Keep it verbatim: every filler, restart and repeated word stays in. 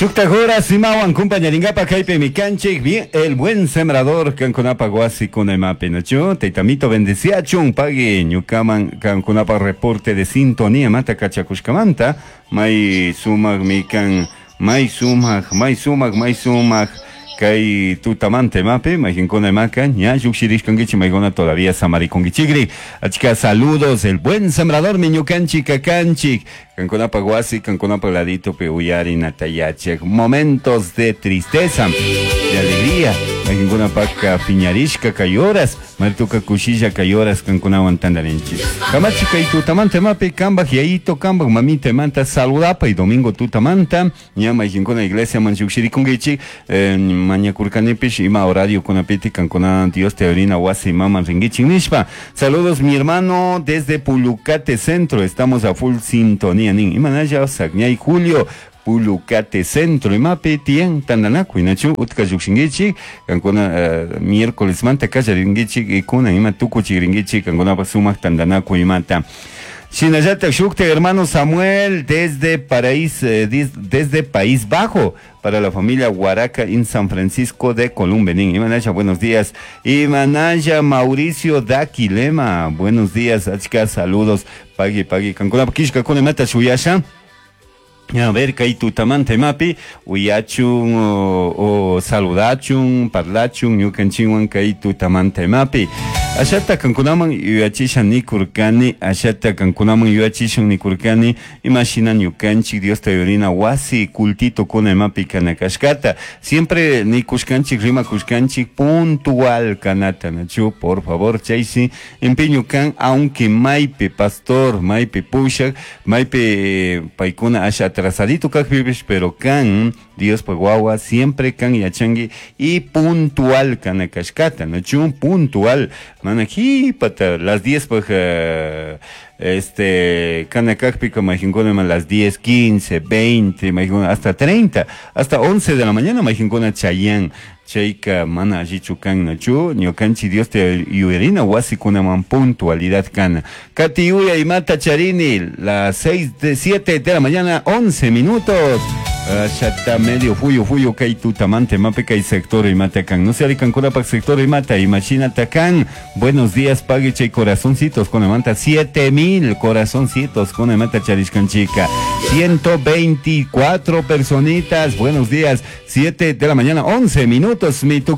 Shuktak horas imawan kumpañaringapa kaypimi kanchik bien el buen sembrador kankunapa wasikuna imapi, nachu? Taytamito bendeciachun pagui ñukaman kankunapa reporte de sintonía mata kachakushkamanta may sumak mikan may sumak may sumak may sumak kay tutamanta imapi mayqinkuna imaka ña lluqshirishkankichik, maykuna todavía samarikunkichikri. Achka saludos, el buen sembrador mi ñukanchik kakanchik kankunapa wasi kankunapa laditopi uyarinata yachak momentos de tristeza, de alegría, mayqinkunapaka piñarishka kay horas, martuka kushilla kay horas kankunawan tantarinchik. Kamachi kay tutamanta imapi kambaj yayito kambaj mamita imanta saludapay domingo tutamanta ña mayqinkuna iglesiaman lluqshirikunkichik eh, mañakurkanipish ima horario kunapiti kankuna Dios te orina wasi maman rinkichik nishpa. Saludos, mi hermano, desde Pulucate Centro, estamos a full sintonía nin imanalla sakñay Julio Pulucate Centro imapi tiyan tantanakuy, nachu? Utka lluqshinkichik kankuna uh, miércoles manta kallarinkichik ikuna ima tukuchikrinkichik kankunapa sumaq tantanakuy imata. Shinallatak shukta hermano Samuel desde Paraís, eh, desde País Bajo, para la familia Huaraca en San Francisco de Columbenín. Imanaya, buenos días. Imanaya Mauricio Daquilema, buenos días. Achka, saludos. Pagui, pagui. Kankuna kishka kuna mata shuyasha. A ver, kay tutamanta imapi uyachun o, o saludachun, parlachun ñukanchikwan kay tutamanta imapi. Ashata kankunaman yuyachisha nikurkani, ashata kankunaman yuyachishun nikurkani, imashina ñukanchik Diosta yurina wasi cultito kuna imapi kana kashkata. Siempre nikushkanchik, rimakushkanchik puntual kanata, nachu, por favor, chaysi empeño kan, aunque maypi pastor, maypi pushak, maypi paykuna asha atrasadito kajpipish, pero kan Dios wawa siempre kan yachangi y puntual kana kashkata, nachu, puntual, mana jipata las diez pues uh, este kana kajpika mayqinkuna las diez, quince, veinte, mayqinkuna hasta treinta, hasta once de la mañana mayqinkuna chayan. Chayka mana allichu kan, nachu? Ñukanchik Dios te yuyarina wasikunaman puntualidad kana. Kati yuya imata charini las seis de siete de la mañana, once minutos. Ashata medio fuyo fuyo kay tutamante mape kay sector imata kan. No se arikan pak sector imata imachina takan. Buenos días, pague chay corazoncitos con imanta siete mil corazoncitos con imata charishkan chica. ciento veinticuatro personitas. Buenos días. siete de la mañana, once minutos. Mi